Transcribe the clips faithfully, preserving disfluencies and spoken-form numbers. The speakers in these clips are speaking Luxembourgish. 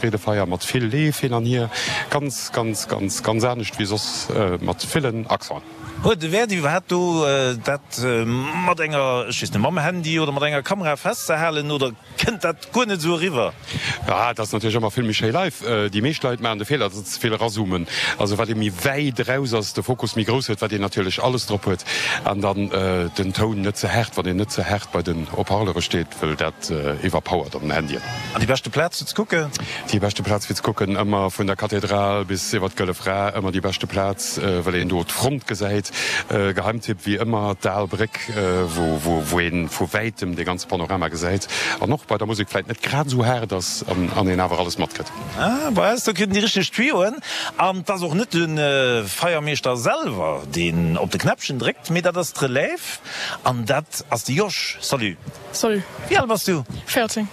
Freedefeier mat vill Leef hin an hier, ganz, ganz, ganz, ganz anescht wéi soss, mat villen Accenten. Huet e Wäert iwwerhaapt do dat mat enger, ech weess net, mam Handy oder mat enger Kamera festzehalen oder kënnt dat guer net esou eriwwer? Ah, et ass natierlech ëmmer vill méi schéi live. Déi meescht Leit maachen de Feeler, datt se ze vill erazoomen. Also wat ee méi wäit eraus ass, de Fokus méi grouss huet, wat een natierlech alles drop huet an dann den Toun net ze haart, wann een net ze haart bei den Haut-parleure steet, wëll dat iwwerpowert op den Handyen. An déi beschte Plaz fir ze kucken? Déi beschte Plaz fir ze kucken, ëmmer vun der Kathedral bis iwwer d'Gëlle Fra, ëmmer déi beschte Plaz, well een do d'Front gesäit. Geheimtipp wéi ëmmer d'Al Bréck, wou een vu wäitem dee ganze Panorama gesäit an och bei der Musek vläit net grad esou haart ass an een awer alles matkritt. Ah, bei eis do kritt een déi richteg Tuyauxen. An 't ass och net de Feiermeeschter selwer, deen op de Knäppchen dréckt, mee dat ass d'Relève an dat ass de Josh. Salut. Salut. Wéi al bass du? véierzéng.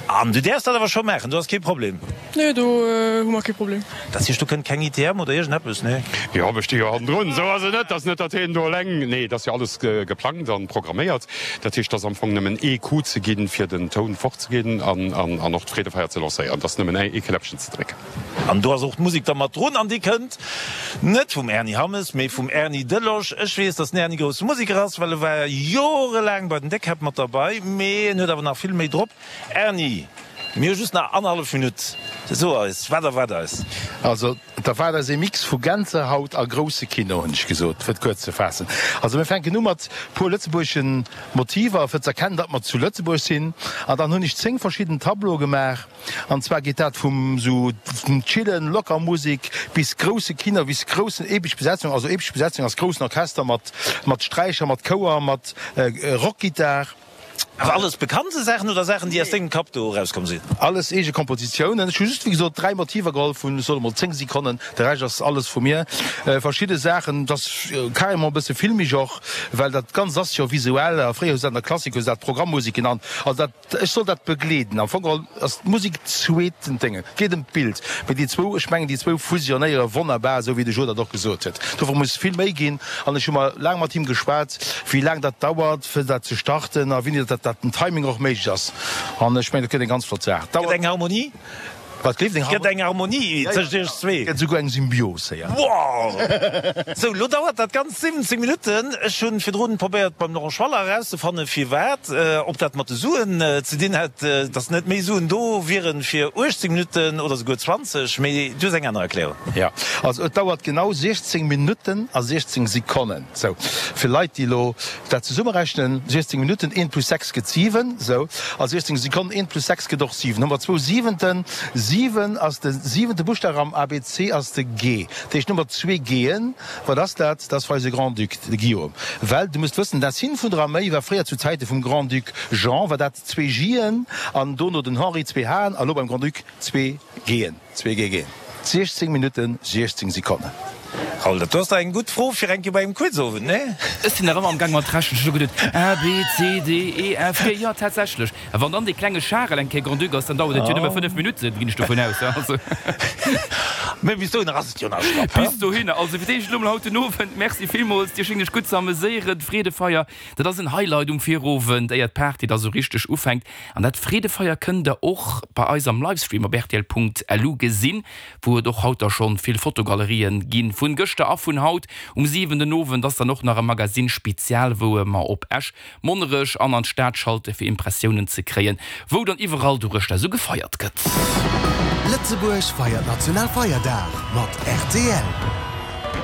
An du däerfs dat awer scho maachen, do ass kee Problem? Nee, do hu mer kee Problem. Dat heescht, do kënnt keng I T M oder iergendeppes, nee? Jo, ech sti jo hannendrun, esou ass et net. Et ass net, datt hien do eleng, nee, et ass jo alles geplangt an programméiert. Dat heescht, et ass am Fong nëmmen ee Coup ze ginn, fir den Toun fortzeginn an an och d'Freedefeier ze lancéieren. Et ass nëmmen ee Knäppchen ze drécken. An do ass och d'Musek da mat drun an déi kënnt net vum Ernie Hammes, mee vum Erny Delosch. Ech weess, datt den Erny grousse Museker ass, well e war jorelaang bei den Déckkäpp mat derbei, mee en huet awer nach vill méi drop. Erny, mir hu just nach annerhallef Minutt. So eis, wat erwaart eis? Also, et erwaart eis ee Mix vu Gänsehaut a grousse Kino, hunn ech gesot, fir et kuerz ze faassen. Also, mir fänken u mat puer lëtzebuergeschen Motiver, fir z'erkennen, datt mer zu Lëtzebuerg sinn. An dann hunn ech zéng verschidden Tableaue gemaach. An zwar geet dat vum sou vum chillen, locker Musek bis grousse Kino, bis groussen epesch Besetzung. Also epesch Besetzung ass groussen Orchester mat mat Sträicher, mat Chouer, mat Rockgittar. Awer alles bekannte Saachen oder Saachen, déi aus dengem Kapp do erauskomm sinn? Alles eege Kompositiounen. Ech hu just, wéi gesot, dräi Motiver geholl vun, ech soe mol, zéng Sekonnen. De Rescht ass alles vu mir. Verschidde Saachen, dat ass carrément e bësse filmisch och, well dat Ganzt ass jo visuell. A fréier hu se dat an der Klassik hu se dat Programmmusek genannt. Also dat, ech soll dat begleeden. Am Fong geholl ass d'Musek zweeten Dénge. Et geet ëm d'Bild. Mee déi zwou, ech mengen, déi zwou fusionéiere wonnerbar, esou wéi de Jo dat och gesot huet. Dofir muss vill méi ginn. An ech hu mer laang mat him geschwat, wéi laang dat dauert, fir dat ze starten a wéini dat dat den Timing och méiglech ass. An ech mengen, dat gëtt eng ganz flott Saach. Gëtt eng Harmonie? Wat gleeft eng Gëtt eng Harmonie tëscht iech zwee? Gëtt esouguer eng Symbios héier. Wow! Sou, lo dauert dat Ganzt siwwenzéng Minutten. Ech hunn virdrun probéiert beim Laurent Schwaller erauszefannen, firwat, ob dat mat de Suen ze dinn hätt, dass net méi Suen do wieren fir uechtzéng Minutten oder souguer zwanzeg, mee du hues eng aner Erklärung. Jo, also et dauert genau siechzéng Minutten a siechzéng Sekonnen. Sou, fir Leit, déi elo dat zesummerechnen, siechzéng Minutten, eent plus sechs gëtt siwen, sou, a siechzéng Sekonnen, eent plus sechs gëtt och siwen. Hu mer zwou Siwenten. Siwen ass de siwente Buschtaf am A B C ass de G. Dat heescht, hu mer zwee G'en. Wat ass dat? Dat ass eise Grand-Duc, de Guillaume. Well du muss wëssen, d'Insigne vun der Arméi war fréier zu Zäite vum Grand-Duc Jean war dat zwee J'en an dono den Henri zwee H'en a lo beim Grand-Duc zwee G'en, zwee G G'en. siechzéng Minutten, siechzéng Sekonnen. Raoul, dat do ass dach eng gutt Fro fir eng Kéier bei engem Quizowend, nee? Ech sinn nach ëmmer am Gaang mat rechnen. Ech hu geduet, A, B, C, D, E, F, G, jo, tatsächlech. A wann dann dee klenge Charel eng Kéier Grand-Duc ass, dann dauert et jo nëmme fënnef Minutten, ginn ech dovun aus, also. Mee bis dohinner ass et jo nach schlapp, he? Bis dohinner. Also fir d'éischt elo mol haut den Owend, Merci villmools, Dir schéngt iech gutt ze ameséieren. D'Freedefeier, dat ass en Highlight um Virowend, éier d'Party da sou richteg ufänkt. An dat Freedefeier kënnt der och bei eis am Livestream op rtl Punkt L U gesinn, wou et och haut da schonn vill Fotogalerien ginn vun gëschter a vun haut. Um siwen den Owend ass dann och nach e Magazine Spezial, wou mer op Esch, Monnerech an an d'Stad schalte fir Impressiounen ze kréien, wou dann iwwerall doruechter esou gefeiert gëtt. Lëtzebuerg feiert Nationalfeierdag mat R T L.